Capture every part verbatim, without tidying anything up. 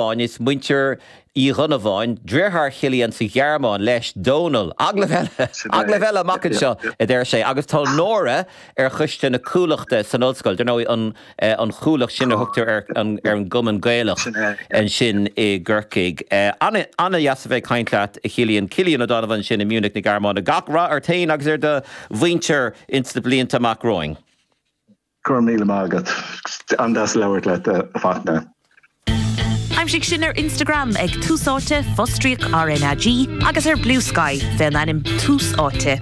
Is muintir Uí Dhonnabháin, deartháir Chillian sa Ghearmáin leis Dónal. Agallamh eile amach anseo a deir sé, agus tá Nóra ar choiste na Cuallachta san ollscoil, dar ndóigh an an Chuallacht sin a thugtar ar an ar an gCumann Gaelach ansin i gCorcaigh. An-deas a bheith ag caint leat a Chillian Cillian Ó Donnabháin sin i Munich na Gearmáine. Gach rath ort féin agus ar do mhuintir ins na blianta amach romhainn. Go raibh míle maith agat an-deas labhairt leat a Fhachtna. Aimsigh sinn ar Instagram ag Tús Áite fostríoc RnaG agus ar Bluesky fén ainm Tús Áite.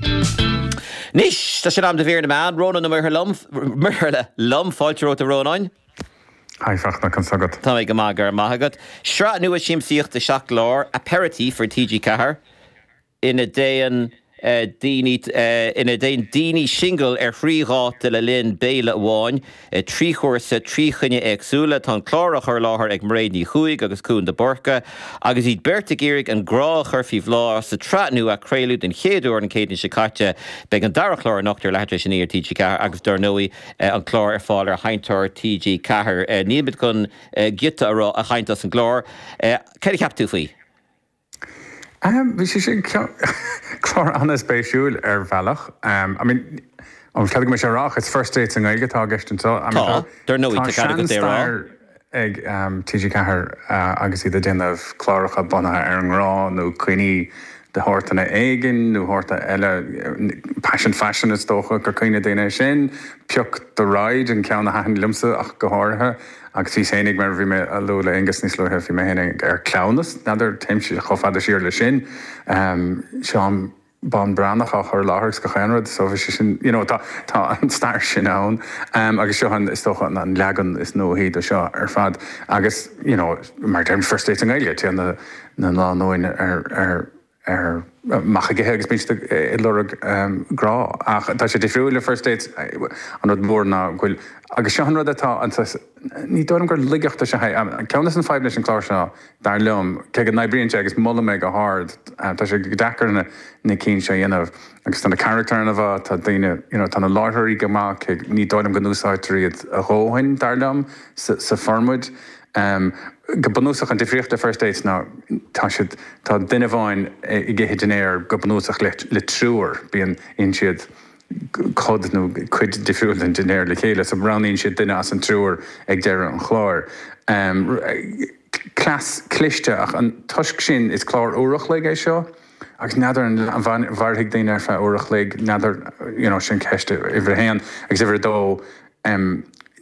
Anois tá sé in am do mhír na meán Rónán Ó Muirthile liom fáilte romhat a Rónáin. Hi Fachtna conas agat. Tá go maith go raibh maith agat. Sraith nua siamsaíochta seacht gclár Aperitif ar TG Ceathair ina dtéann daoine ina dtéann daoine singil ar thrí dháta le linn béile amháin, trí chúrsa, trí choinne éagsúla, tá an clár á chur i láthair ag Mairéad Ní Chuaig agus Cuan de Búrca, agus iad beirt ag iarraidh an grá a chur faoi bhláth sa tsraith nua a craoladh den chéad uair an Chéadaoin seo caite. Beidh an dara clár anocht ar leathuair tar éis a naoi ar TG Ceathair agus dar ndóigh an clár ar fáil ar sheinnteoir TG Ceathair. Níl muid chun giota a rá a chaint as an gclár. Céard a cheap tú faoi? Bhí sé sin clár an-spéisiúil ar bhealach. I mean, an cead go sé rá it's first dates i nGaeilge atá i gceist anseo. Tá, dar ndóigh tá cead agat é a rá. ag TG Ceathair agus iad ag déanamh cláracha bunaithe ar an ngrá nó coinní de shórtanna éigin nó shórta eile Passion Fashion is dócha gur cuimhin le daoine é sin, Pioc do Ride an ceann a thaitin liomsa ach go háirithe. Agus bhí féinig mar bhí mé a lua le Aengus níos luaithe bhí mé féinig ar Cleamhnas, n'fheadar téimse chomh fada siar le sin. Seán Bán Breathnach á chur i láthair agus gach aon rud so bhí sé sin you know tá tá an stair sin ann agus seo an is dócha an an leagan is nuaí de seo ar fad agus you know mar deirim First Dates i nGaeilge téann na na lánúin ar ar ar amach ag ithe agus bíonn siad ag lorg grá ach tá sé difriúil le First Dates an rud mór ná go bhfuil agus seo an rud atá an ní dóigh liom gur laigeacht is ea é ceann de na fadhbanna leis an chlár seo dar liom cé go n-oibríonn sé agus molaim é go hard tá sé go deacair na na cinn seo a dhéanamh agus tá na carachtair an-mhaith tá daoine you know tá na láithreoirí go maith cé ní dóigh liom go n-úsáidtear iad a dhóthain dar liom sa sa formáid. Go bunúsach an difríocht le First Dates ná tá siad tá duine amháin ag ithe dinnéar go bunúsach le le triúr bíonn itheann siad cod nó cuid difriúil den dinnéar le chéile so roghnaíonn siad duine as an triúr ag deireadh an chláir. Cleas cliste ach an toisc sin is clár uair a chloig é seo agus n'fheadar an mairfidh daoine ar feadh uair a chloig n'fheadar you know sin ceist uimhir a haon agus uimhir a dó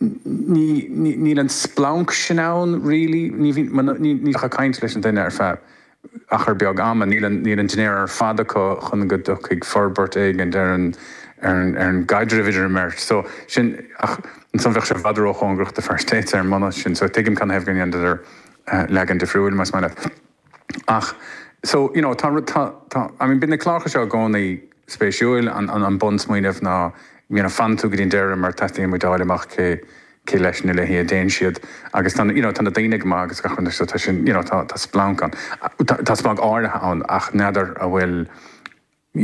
ní níl an splanc sin ann really ní ní ní ach ag caint leis an duine ar feadh achar beag ama níl an níl an dinnéar ar fad acu chun go dtiocfaidh forbairt éigin ar an ar an ar an gcaidreamh idir an mbeirt so sin ach ansan bheadh sé i bhfad róchóngarach do First Dates ar an mbunús sin so tuigim canathaobh go ndéanadar leagan difriúil más maith leat ach so you know tá tá tá I mean bíonn na cláracha seo i gcónaí spéisiúil an an an bunsmaoineamh ná you know fanann tú go dtí an deireadh mar teastaíonn muid a fháil amach cé cé leis nó léi a dtéann siad agus tá you know tá na daoine go maith agus gach rud so tá sin you know tá tá splanc ann tá tá splanc áirithe ann ach n'fheadar an bhfuil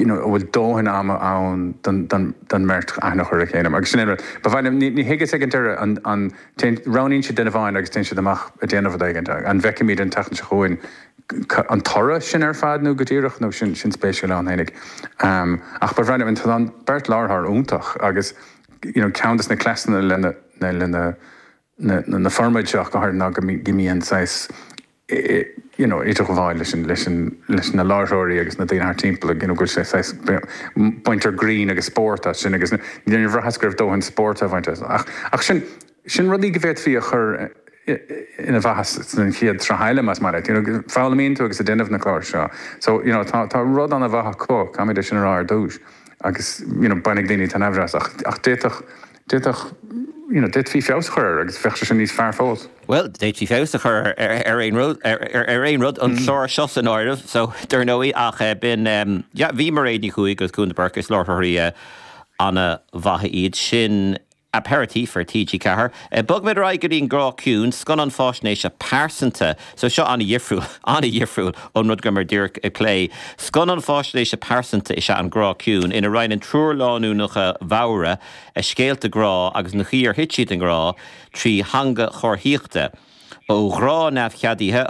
you know an bhfuil dóthain ama ann don don don mbeirt aithne a chur ar a chéile agus sin é an rud ba mhaith liom ní ní thuigeas ag an deireadh an an téann roghnaíonn siad duine amháin agus téann siad amach ag déanamh rud éigin an bhfeicfimid an tseachtain seo chugainn an toradh sin ar fad nó go díreach nó sin sin spéisiúil ann fhéinig. Ach ba bhreá liom tá an beirt láithreoir iontach agus you know ceann de na cleasanna lena lena na na formáid seo go háirithe ná go mbíonn saghas you know idirghabháil leis an leis an leis na láithreoirí agus na daoine thart timpeall you know go bhfuil sé saghas baintear grinn agus spórt as sin agus níor bhraitheas go raibh dóthain spóirt á bhaint as ach ach sin sin rudaí go bhféadfaí a chur ina mhaitheas san chéad tsraith eile más maith leat. You know, foghlaimíonn tú agus ag déanamh na clár seo. So, you know, tá, tá rud an-mhaith acu, caithfimid é sin a rá ar dtús. Agus, you know, bainfidh daoine taitneamh as ach, ach d'fhéadfadh, d'fhéadfadh, you know, d'fhéadfaí feabhas a chur air agus bheadh sé sin níos fearr fós. Bhuel, d'fhéadfaí feabhas a chur ar, ar aon rud, ar, ar, ar aon rud, an clár seo san áireamh, so, dar ndóigh, ach eh, b'in, um, yeah, bhí Mairéad Ní Chuaig agus Cuan de Búrca is láithreoirí eh, an-mhaithe iad sin. Aperitif ar TG Ceathair. Bogfaimid ar aghaidh go dtí an Grá Ciúin, scannán faisnéise pearsanta. So seo an-dhifriúil, an-dhifriúil ón rud go rabhamar díreach ag plé. Scannán faisnéise pearsanta is ea an Grá Ciúin, ina roinneann triúr lánúineacha mhóra a scéalta grá agus an chaoi ar thit siad i ngrá trí theanga chomharthaíochta. ó ghrá neamhcheadaithe.